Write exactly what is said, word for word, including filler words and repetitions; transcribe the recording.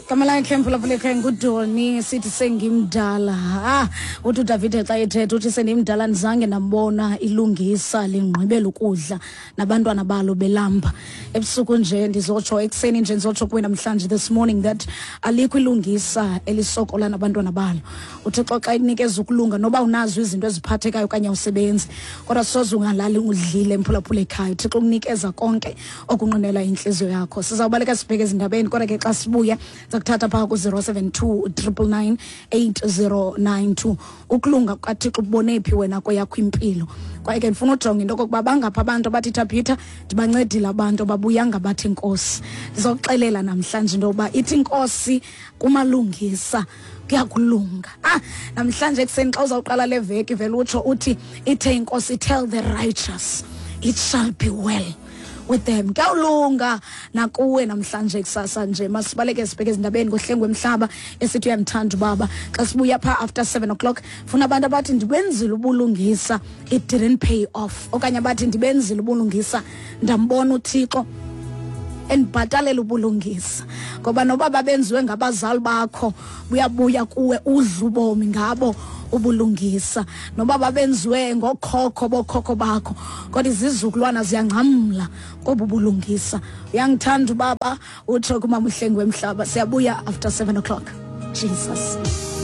Igama lakhe, mphulaphula ekhaya, nguDoni. Sithi "Sengimdala". Ah, uthi uDavide xa ethetha, uthi "Sendimdala, ndizange ndambona ilungisa lingqibela ukudla nabantwana balo belamba ebusuku nje." Ndizotsho ekuseni nje, ndizotsho kuwe namhlanje, this morning, that alikho ilungisa elisokola nabantwana balo. UThixo xa ekunikeza ukulunga, noba unazo izinto eziphathekayo okanye awusebenzi, kodwa soze ungalali udlile, mphulaphula ekhaya. UThixo ukunikeza konke okunqinela intliziyo yakho. Sizawubaleka sibheke ezindabeni, kodwa ke xa sibuya siza kuthatha phaa ku-zero seven two triple nine eight zero nine two. Ukulunga kukaThixo ubone phi wena kweyakho impilo? Kwaye ke ndifuna ujonga into okokuba bangaphi abantu abathi, "Thabitha, ndibancedile abantu, babuyanga bathi inkosi." Ndizokuxelela namhlanje into yokuba ithi inkosi kumalungisa kuyakulunga. Ah, namhlanje ekuseni xa uzawuqala le veki, vele utsho uthi, "Ithe inkosi, tell the righteous it shall be well with them." Kuyawulunga nakuwe namhlanje kusasa nje. Masibaleke sibheke ezindabeni ngoHlengwe Mhlaba, esithi "Uyamthanda Ubaba". Xa sibuya phaa after seven o'clock, funa abantu abathi, "Ndibenzile ubulungisa, it didn't pay off," okanye abathi, "Ndibenzile ubulungisa, ndambona uThixo endibhatalela ubulungisa." Ngoba noba babenziwe ngabazali bakho, buyabuya kuwe, udla ubomi ngabo ubulungisa. Noba babenziwe ngokhokho bokhokho bakho, kodwa izizukulwana ziyangcamla kobu bulungisa. "Uyangithanda Ubaba," utsho kumama uHlengwe Mhlaba. Siyabuya after seven o'clock. Jesus.